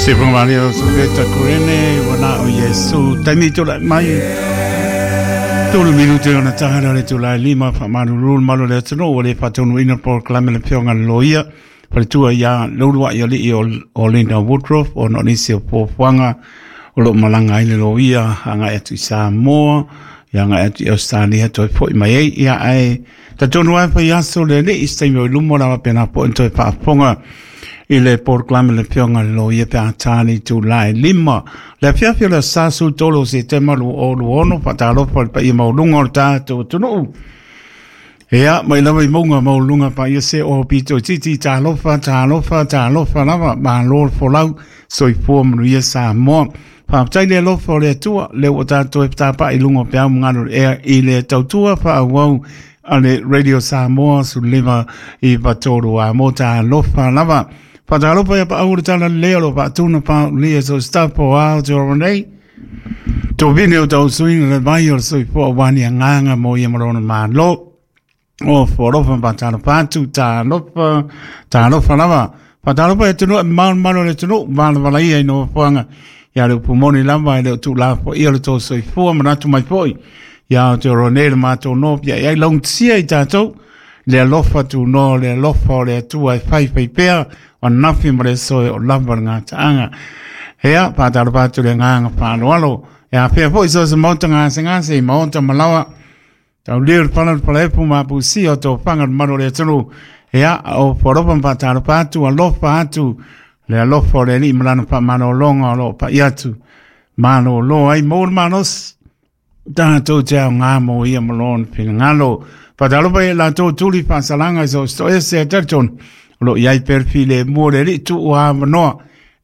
Se whakamaria o Sopeta Kurene, wana o Iesu, taimi tō lai mai. Tolu minute ona tahara le tū lai lima, whamaruru malo le atunu, o le whatonu ina polokalame le whionga le loia, faletua ia Leuluai alii o Linda Woodruff, o no nisi o puapuaga o loo malaga ai le loia agai atu i Samoa, ia agai atu i Ausetalia toe fo'i mai ai. Ia ae talitonu lava e faiaso le alii i se taimi o i luma o le a faapena foi ona toe faafofoga i le polokalame le Afioga i le Loia pe a ta le itula e 5 le afiafi o le aso Sa 13 o Setema 2026. Faatalofa i le paia maualuga o le tatou atunuu. Ia, mai lava i mauga maualuluga paia se o pito i titi, talofa, talofa, talofa lava, malo le folau, soifua manuia Samoa. Faafetai le alofa o le Atua, lea ua tatou e tapaai i luga o peau ma galu ea i le tautua faaauau a le Radio Samoa 15 i 3 a mo talofa lava. Faatalofa ia paau o le tala lelei o lo faatuna paaulia so staff o Aotearoa nei. Tovine o tau suiga le vai o le soifua aua ni agaga mo ia ma lona Malo. O foalofa ma faatalofa atu, talofa, talofa lava. Faatalofa i atunuu e malumalu o le atunuu, valavala ia i nofoaga. Ia le upu moni lava e le o tuulafoaia le tou soifua manatu mai foi. Ia Aotearoa nei le matou nofia i ai laugatasia i tatou. Le alofa tunoa o le alofa o le Atua e faifai pea o ananafi ma le aso e oo lava le gataaga. Ia, faatalofa atu le agaga faaaloalo. E afea foi so o se maota gasegase i maota ma laoa. Tauliu le pala o le palaefu ma apusia o tofaga o le malu o le atunuu. Ia, o foalofa ma faatalofa atu, alofa atu le alofa o le Alii ma lana faamalologa o lo o pai atu. Malolo ai maua le malosi. Tatou te aoga mo ia ma lona finagalo. Faatalofa i latou tuli faasalaga i so o se toese a talitonu o lo o i ai pea le filemu o le Alii tuu avanoa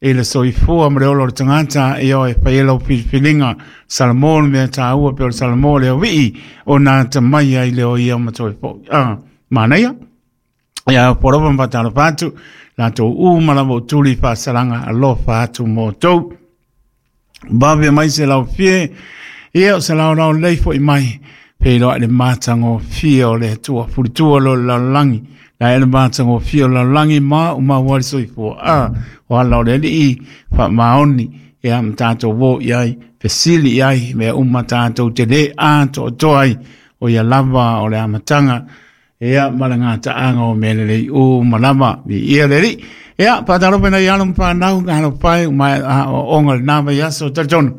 i le soifua ma le ola o le tagata e o e fai ai lau filifiliga. Salamo le mea taua pe o le Salamo le auii o nā atamai ai le o ia ma toe fo'i. Ah, manaia. Ia, porofa ma faatalofa atu, latou uma lava o tuli faasalaga alofa atu mo outou. Vave mai se laufie, ia o se laolao lelei foi mai, feiloai le matagofie o le Atua, fulitua lo le lalolagi, la e le matagofie o le lalolagi ma maua ai le soifua. A, o ala o le Alii faamaoni, ia ma tatou o i ai, fesili i ai, mea uma tatou te le atoatoa ai, o ia lava o le amataga, ia ma le gataaga o mea lelei uma lava, viia le Alii. Ia, faatalofa i nai alo ma fanau, talofa e, ua maea aoaoga i lena vaiaso, talitonu.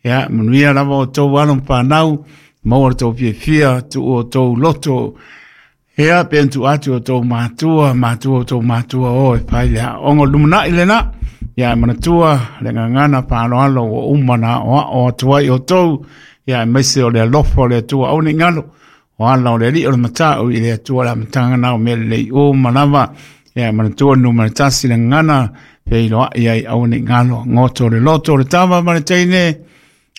Ia, manuia lava outou alo ma fanau, maua le tou fiafia, tuu outou loto. Ia, pe ona tuu atu i outou matua, matua outou matua o e fai le aoga o le lumanai lena. Ia, e manatua le gagana faaaloalo ua uma ona aoao atu ai outou, ia, aemaise o le alofa o le Atua. Aua ne i galo, O ala o le Alii o le matau i le Atua le amataga na o mea lelei uma lava. Ia manatua numera 1 le gagana feiloai ai aua ne i galo goto le loto o le tama ma le teine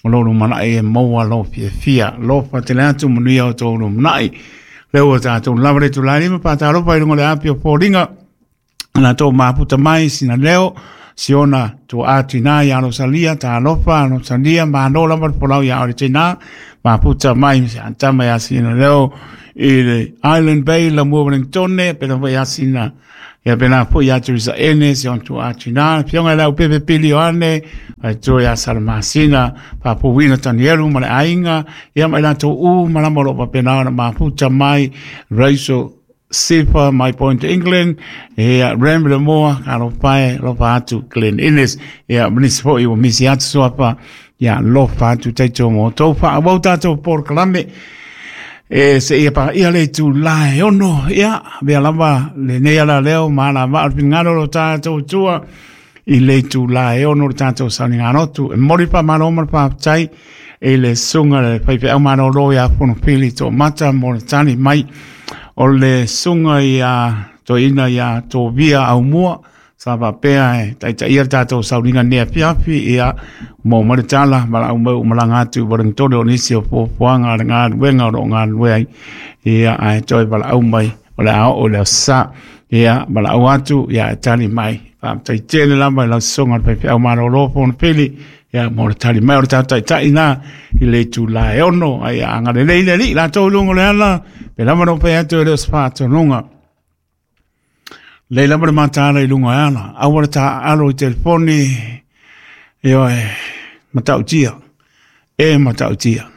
o lou lumanai e maua lou fiafia. Alofa tele atu manuia o tou lumanai. Lea ua tatou lava le itula e 5 faatalofa i luga o le api o foliga. Na tou mafuta mai sina leo, siona tuaa tina ia Rosalia, talofa Rosalia, malo lava le folau ia ole tina, mafuta mai se antama ia sina leo i le Island Bay la mua Wellingtone, pena foi ia sina, ia pena foi ia Teresa Ene, si ona tuaa tina, fionga i lau pepe pili o ane, ai toe ia Salamasina, Papuwina Tanielu ma le aiga, ia mai latou u malama o lo o faapena ona mafuta mai, Rachel Sifa, My Point England, ia Ram le Moa, alofa e, alofa atu Glen Innes, ia ma nisi foi ua misi atu suafa, ia alofa atu taito mo tou faaauau tatou polokalame, e seia paia le itula e 6, ia avea lava lenei ala leo ma alavaa o le finagalo o lo tatou Atua i le itula e 6 le tatou sauniga lotu. E momoli le faamalo ma le faafetai i le susuga i le faifeau malolo ia Fonopili Toomata mo le tali mai o le susuga ia Toeaina ia Tovia Aumua sa faapea e taitaia le tatou sauniga nei afiafi, ia maua mai le tala valaau mai ua malaga atu i Wellington o nisi o fuafuaga a le galuega o lo o galulue ai, ia ae toe valaau mai o le a oo i le aso Sa, ia valaau atu ia e tali mai. Faafetai tele lava i lau susuga i le faifeau malolo Fonopili, ia mo le tali mai o le tatou taitai na i le itula e 6, ai ia agalelei le Alii latou i luga o le ala, pe lava na fai atu e le o se faatonuga. Lei lava le mataala i luga o le ala, aua le taaalo i telefoni, Ioe, matautia, e matautia.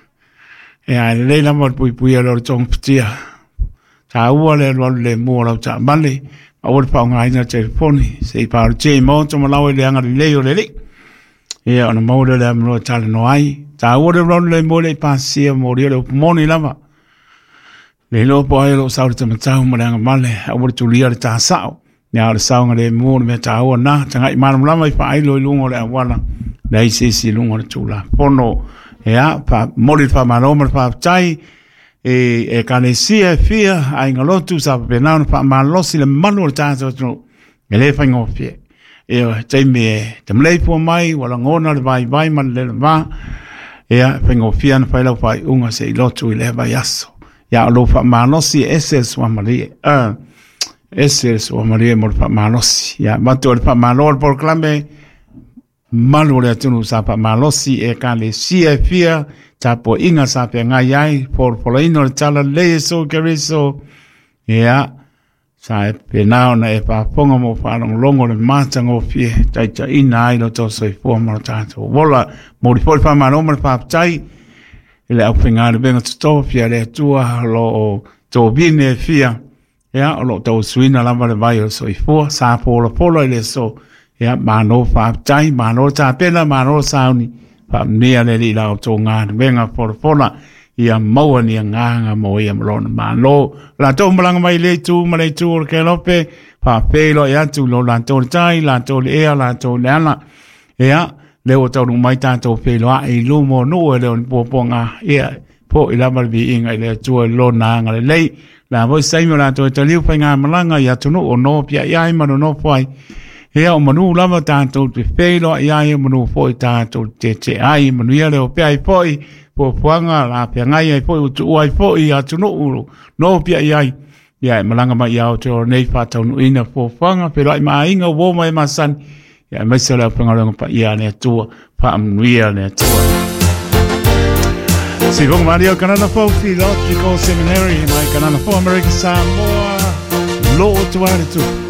E a lelei lava le puipuia lea o le togafitia. Taua le alualu lemu o lau taavale, aua le faaaogaina le telefoni, se i paolotia i maota ma laoa i le agalelei o le Alii. Ia ona maua lea o le avanoa e talanoa ai. Taua le alualu lemu e le i pasia molia le upu moni lava. Le iloa po o ai o lo o sau le tamatau ma le agavale, aua le tulia le ta sao. Ia o le saogalemu o le mea taua na, tagai malamalama i faailo i luga o le auala, leai se isi i luga o le Tulafono. Ia, momoli le faamalo ma le faafetai i ekalesia e fia, aiga lotu sa faapena ona faamalosi le malu o le tatou atunuu, e le faigofie. Ia, taimi e tamaleifua mai, ua lagona le vaivai ma le leleva, ia, e faigofie ona fai lau faaiuga se i lotu i lea vaiaso. Ia, o lou faamalosi e ese le suamalie. Ese le suamalie mo le faamalosi. Ia, avatu ai le faamalo o le polokalame, malu o le atunuu sa faamalosi e ekalesia e fia, tapuaiga sa feagai ai, folafolaina o le talalelei e Iesu Keriso. Ia, sa e pena ona e faafofoga ma faalogologo le matagofie taitaiina ai lo tou soifua ma lo tatou ola. Momoli foi le faamalo ma le faafetai i le aufaigaluega totofi a le Atua o lo o tovine e fia, ia, o lo o tauasuina lava le vai o le soifua, sa folafola i le aso. Ia, malo faafetai, malo le tapena, malo le sauni, faamanuia le Alii i la outou galuega folafola, ia maua ni agaga mo ia ma lona malo. Latou malaga mai le itu ma le itu o le kelope, faafeiloai atu i lo latou le tai, latou le ea, latou le ala. Ia, lea ua taunuu mai tatou feiloai i luma o nuu e le o ni puapuaga, ia, foi lava le viiga i le Atua i lona agalelei. La foi se taimi o latou e taliu faigamalaga i atunuu o nofiai ai ma nonofo ai. Ia, o manu lava tatou te feiloai ai, o manu foi tatou te tete ai, manuia le opea ai foi, fuafuaga la feagai ai foi, ua tuua ai foi i atunuu nofiai ai. Ia, e malaga mai ia Aotearoa nei faataunuuina fuafuaga, feiloai ma aiga, uo ma e masani. Ia, aemaise o le aufaigaluega paia a le Atua, faamanuia le Atua. Sifonga Maria o Kanana Fou Theological Seminary mai Kanana Fou Amerika Samoa, lo o tua le tupu.